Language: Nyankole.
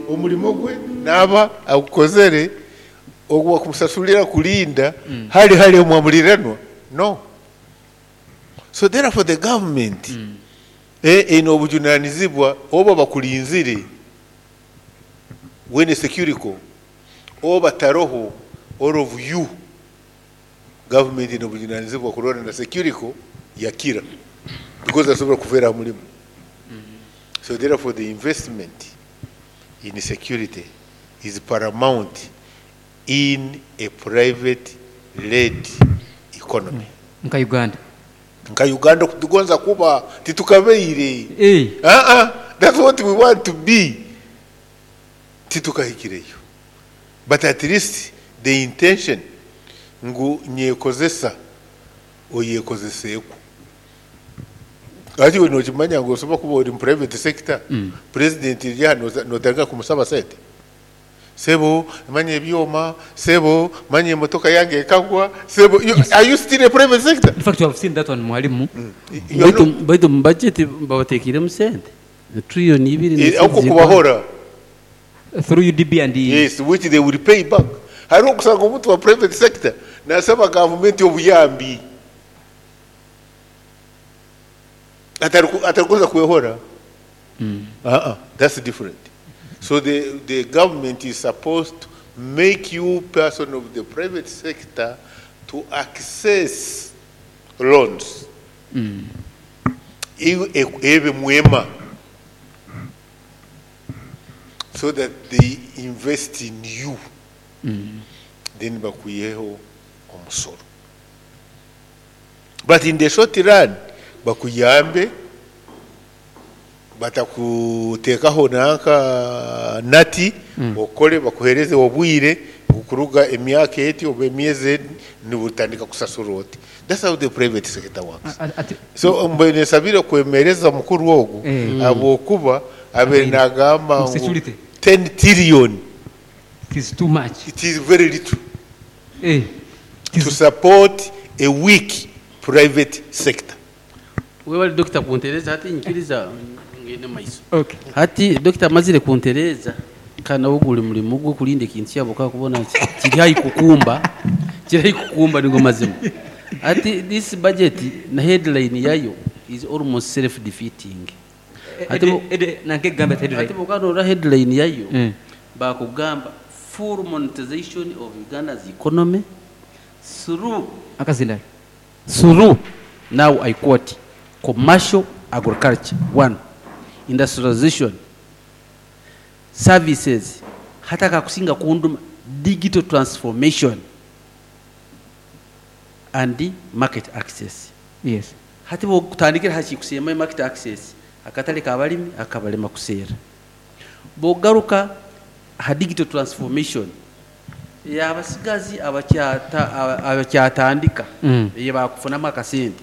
Omurimo gwe naaba agukozere, ogwo bakumusasurira kurinda hari hari omwa muriranwa? No. So therefore the government eine obujunanizibwa oba bakurinzire when securico oba taroho all of you government eine obujunanizibwa kurora na securico yakira because asobora kufeera aha murimo. So therefore the investment in security is paramount in a private led economy. Nka Uganda. Nka Uganda okutugonza kuba titukabaire. Aa that's what we want to be titukahikireyo but at least the intention ngu nyekozesa oyekozeseku. Hati iwe nokimanya ngu osobola kuba ori mu private sector president eri aha notandika kumusaba sente? Sebo manya ebyoma, sebo manya emotoka yange ekagwa, sebo are you still a private sector? In fact we have seen that one mwalimu. Baitu baitu omu budget babateekeiremu sente trillion ibiri na Okwo sente kubahora. Through UDB and. Yes, which they will pay back. Hariho okusanga omuntu wa private sector nasaba gavumenti obuyambi atarikuza kwehora. Aa that's different. So the the government is supposed to make you person of the private sector to access loans. Iwe ebe mwema so that they invest in you then bakwiheho omusoro. But in the short run bakuyambe batakuteekaho nanka nati okore bakuheereze obwire ngu kuruga emyaka eti oba emyezi eti nibutandika kusasura oti. That's how the private sector works. So mbwenu nsabire kwemereza mukuru ogu ahabw'okuba abaire nagamba ngu ten trillion It is too much. It is very little to support a weak private sector. Webale Dokita kuntereeza hati nyikiriza ngende omu maiso. Hati Dokita amazire kuntereeza kandi nawe guri murimo gwe kurinda ekintu kyabo kakubona kiri haihi kukumba, kiri haihi kukumba nigo mazima. Hati this budget na headline yayo is almost self defeating. Hati bwokuba norora headline yayo bakugamba full monetization of Uganda's economy through through now I quote commercial agriculture one, industrialization, services hati akakusinga kunduma digital transformation and market access. Yes. Hati bwokutandikira aha kikusembayo market access akatare kabarimi akabarema kuseera. Bwogaruka aha digital transformation Ey'abatsigazi abakyatandika ei baakufunamu akasente.